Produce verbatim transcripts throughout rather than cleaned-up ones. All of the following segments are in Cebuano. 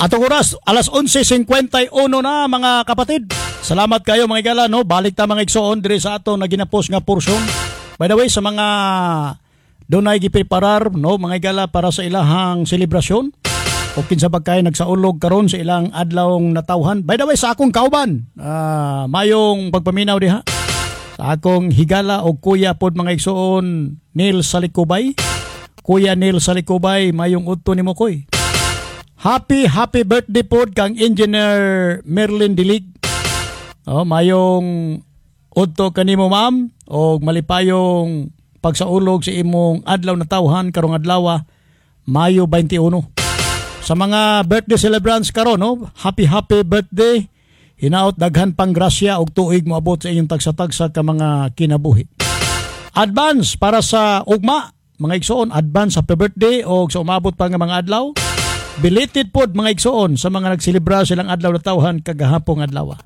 Atong oras, alas onse singkwenta y uno na, mga kapatid. Salamat kayo, mga igala, no? Balik ta, mga igsoon, diri sa ato na ginapos nga portion. By the way, sa mga dunay gipreparar, no, mga igala, para sa ilahang selebrasyon o kinsa ba kay nagsaulog karon sa ilang adlawng natawhan. By the way, sa akong kauban, ah, mayong pagpaminaw diha. Sa akong higala o kuya pod, mga igsoon, Neil Salikubay. Kuya Neil Salikubay, mayong udto nimo, koy. Happy, happy birthday pod kang Engineer Merlin Dilig. Oh, mayong udto kanimo, ma'am, og malipayong pagsaulog sa imong adlaw na tawhan karong adlaw, Mayo twenty-one. Sa mga birthday celebrants karon, no, happy, happy birthday. Hinaot daghan pang grasya og tuig moabot sa inyong tagsa-tagsa ka mga kinabuhi. Advance para sa ugma, mga igsoon, advance happy birthday og sa umabot pa nga mga adlaw. Belated pod, mga igsoon, sa mga nagselebra silang adlaw na tawhan kagahapong adlaw.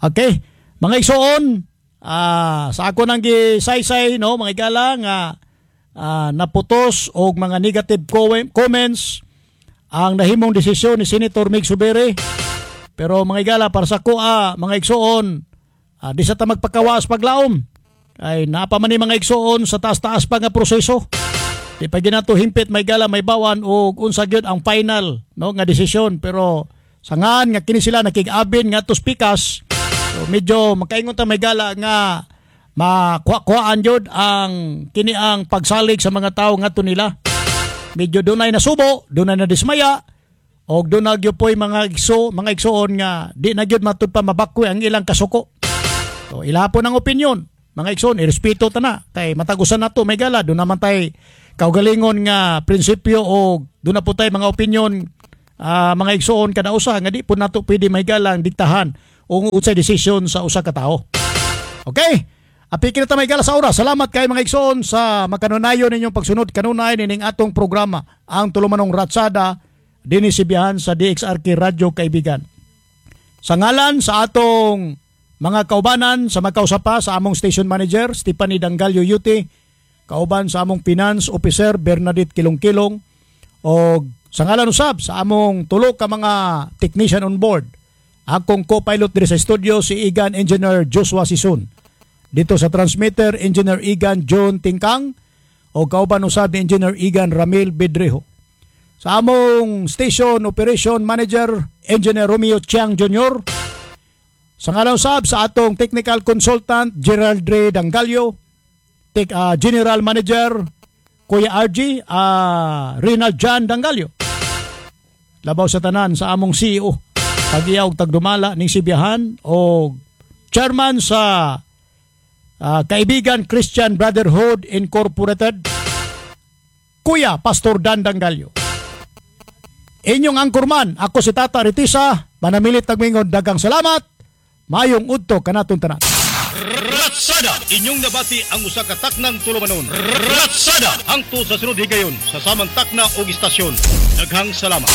Okay, mga igsoon, ah, sa ako nang gisaysay, no, mga igala, nga ah, naputos og mga negative comments ang nahimong desisyon ni Senator Migz Zubiri. Pero mga igala, para sa kuha, mga igsoon, ah, di sa ta magpakawas paglaom. Ay napa man ni, mga igsoon, sa taas-taas pa nga proseso. Di pa ginato himpit may gala may bawan og unsa gyud ang final, no, nga desisyon, pero sangan nga kini sila nakig-abin nga to pikas, so medyo makaingon ta, may gala, nga makuha-kuhaan gyud ang kini ang pagsalig sa mga tao ngadto nila. Medyo dunay nasubo, dunay na dismaya og dunay gyud poy mga igso, mga igsoon nga di na gyud matud pa mabakwi ang ilang kasuko. So ila po ng opinion. Mga igsoon, irespeto ta na kay matagusan nato, may gala, doon naman tay kaugalingon nga prinsipyo o doon na po tay mga opinion, ah, mga igsoon, kada usa nga di po nato pwede, may galang, diktahan o unsay desisyon sa usa ka tawo. Okay? Apiki na ta, may gala, sa oras. Salamat kay, mga igsoon, sa makanunayon ninyong pagsunod kanunay nining atong programa, ang tulumanong Ratsada dinhi Sibihan sa D X R K Radyo Kaibigan. Sa ngalan sa atong mga kaubanan sa magkausapa, sa among station manager Stephanie Dangalio Yuti, kauban sa among finance officer Bernadette Kilong-Kilong, og sa ngalan usab sa among tulo ka mga technician on board. Akong co-pilot diri sa studio si Igan Engineer Joshua Sison. Dito sa transmitter, Engineer Igan John Tingkang o kauban usab ni Engineer Igan Ramil Bedrejo. Sa among station operation manager, Engineer Romeo Chiang Junior Sa ngalan usab sa atong technical consultant Gerald Ray Dangalio, Tech, ah, General Manager Kuya R G, uh, Rinald John Dangalio. Labaw sa tanan, sa among C E O, tagiya og tagdumala ning Sibiahan o chairman sa ah, Kaibigan Christian Brotherhood Incorporated, Kuya Pastor Dan Dangalio. Inyong angkurman, ako si Tata Ritisa, manamilit tagmingon, dagang salamat, mayong udto kanatong tanan. Ratsada! Inyong nabati ang usa ka taknang tulumanon. Ratsada! Hangtod sa sunod higayon sa samang takna o istasyon. Daghang salamat.